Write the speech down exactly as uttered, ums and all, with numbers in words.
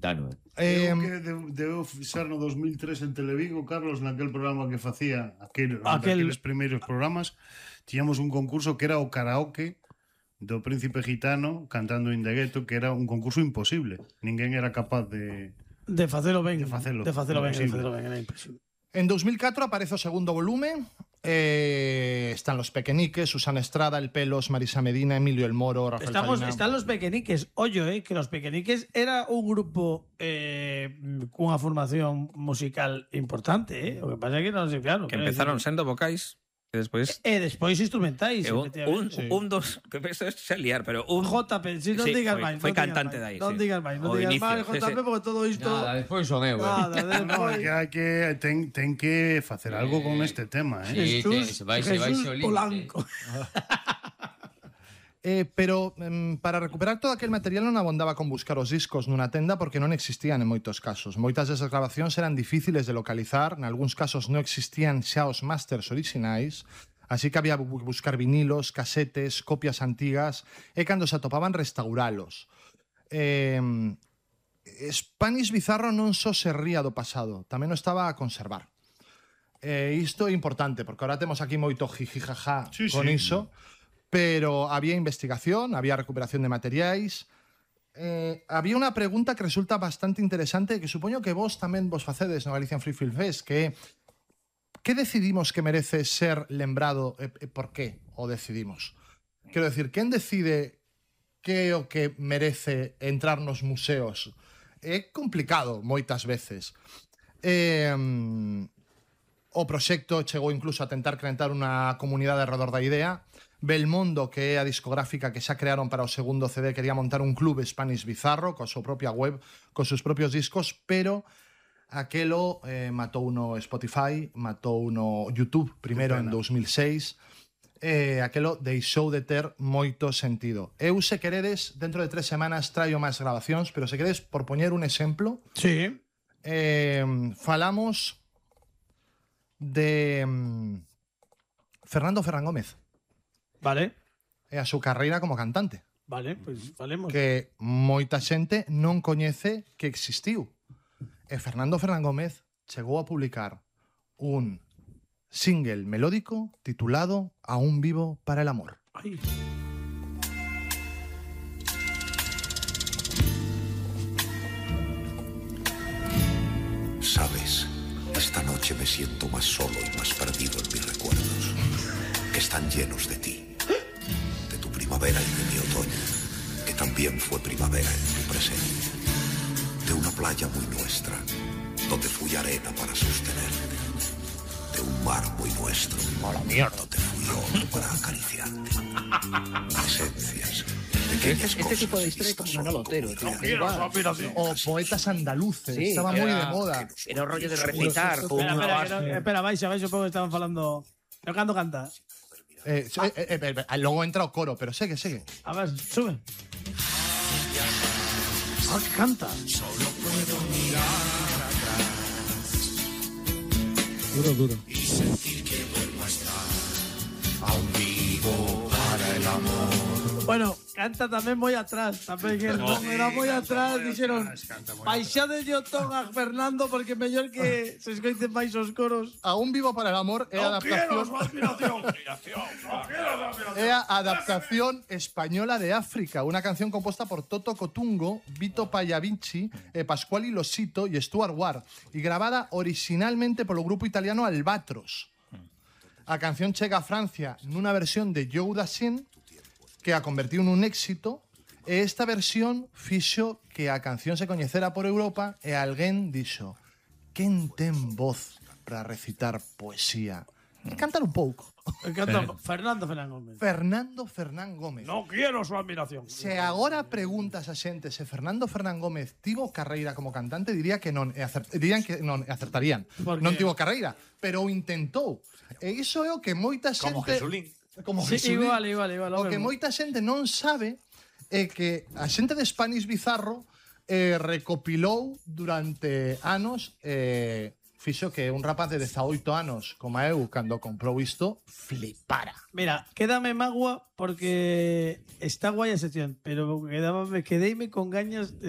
gitano. Eh, Eu que de- deu ser no dos mil tres en Televigo, Carlos, naquel programa que facía, aquel, Aquel- aqueles primeiros programas, tiñamos un concurso que era o karaoke do Príncipe Gitano cantando In the Ghetto, que era un concurso imposible. Ninguén era capaz de... De facelo ben. De facelo. De facelo ben, de Imposible. facelo ben, era imposible. En dos mil catro aparece o segundo volume. Eh, están los Pequeñiques, Susana Estrada, El Pelos, Marisa Medina, Emilio El Moro, Rafael Estamos, Farina. están los Pequeñiques. Oye, eh, que los Pequeñiques era un grupo eh, cunha formación musical importante, eh? O que pasa é que non sei, claro. Que empezaron sendo vocais e despois E despois instrumentais. e un, un, efectivamente. sí. un dos que eso es se liar, pero un J P, si non Sí, digas foi- máis. foi non digas cantante máis, de aí, Non sí. digas máis, non O digas inicio, máis, sí, J P, sí. porque todo isto... Nada, despois son eu, eh. Nada, No, despois... que hai que ten, ten que facer algo con este tema, eh? Sí, Jesús, te- vai- se vai Jesús ao límite. Polanco. Eh, pero em, para recuperar todo aquel material non abondaba con buscar os discos nunha tenda porque non existían en moitos casos. Moitas desas grabacións eran difíciles de localizar, en algúns casos non existían xa os masters orixinais, así que había que buscar vinilos, casetes, copias antigas, e cando se atopaban restauralos. Eh, Spanish Bizarro non só se ría do pasado, tamén o estaba a conservar. Eh, isto é importante, porque ahora temos aquí moito jijijaja Sí, con sí. iso, pero había investigación, había recuperación de materiais. Eh, había unha pregunta que resulta bastante interesante, que supoño que vos tamén vos facedes no Galician Free Film Fest, que é que decidimos que merece ser lembrado e, e por qué o decidimos? Quero decir, quen decide que é o que merece entrar nos museos? É complicado moitas veces. Eh, o proxecto chegou incluso a tentar crear unha comunidade alrededor da idea. Belmondo, que é a discográfica que xa crearon para o segundo C D, quería montar un club Spanish Bizarro coa súa propia web, con seus propios discos, pero aquelo eh, matou no Spotify, matou no YouTube primeiro en dos mil seis. Eh, aquelo deixou de ter moito sentido. Eu, se queredes, dentro de tres semanas traio máis grabacións, pero se queredes, por poñer un exemplo, Sí. eh, falamos de mm, Fernando Ferran Gómez Vale. e a súa carreira como cantante, Vale, pois pues, falemos. que moita xente non coñece que existiu. E Fernando Ferran Gómez chegou a publicar un single melódico titulado Aún vivo para el amor. Ai. Sabes, esta noche me siento más solo y más perdido en mis recuerdos, que están llenos de ti, de tu primavera y de mi otoño, que también fue primavera en tu presente, de una playa muy nuestra, donde fui arena para sostenerte, de un mar muy nuestro, donde fui oro para acariciarte, esencias, pequeñas Este tipo de cosas historia como vistas Manolo solo Otero, como tío. ideas. Igual. O poetas andaluces, Sí, estaba moi de era- moda. era un rollo de recitar con Espera, unha espera, que base. no, espera, baixa, baixa, porque estaban falando... Eu cando canta. Eh, eh, eh, eh, eh, logo entra o coro, pero segue, segue. A ver, sube. Ah, que canta. Duro, duro. Bueno, canta tamén moi atrás, tamén que non era moi atrás, dixeron baixade de ton a Fernando porque mellor que se escoiten máis os coros. Aún vivo para el amor é a adaptación é a adaptación española de África, unha canción composta por Toto Cotungo, Vito Pagliavinci, eh, Pasquale Losito e Stuart Ward e grabada originalmente polo grupo italiano Albatros. A canción chega a Francia nunha versión de Joe Dassin que a convertiu nun éxito e esta versión fixo que a canción se coñecera por Europa e alguén dixo quen ten voz para recitar poesía? E cantar un pouco. Canta Fernando Fernández Gómez. Fernando Fernán Gómez. No quiero su admiración. Se agora preguntas a xente se Fernando Fernán Gómez tivo carreira como cantante, diría que non, e acert, dirían que non, e acertarían. Por Non qué? tivo carreira, pero o intentou. E iso é o que moita xente... Como Jesulín. Como Sí, Jesulín. igual, igual, igual. O que mesmo. moita xente non sabe é que a xente de Spanish Bizarro eh, recopilou durante anos eh, fixo que un rapaz de dezaoito anos como eu, cando comprou isto, flipara. Mira, quédame magua porque está guay a sección, pero quedaba, quedeime con gañas de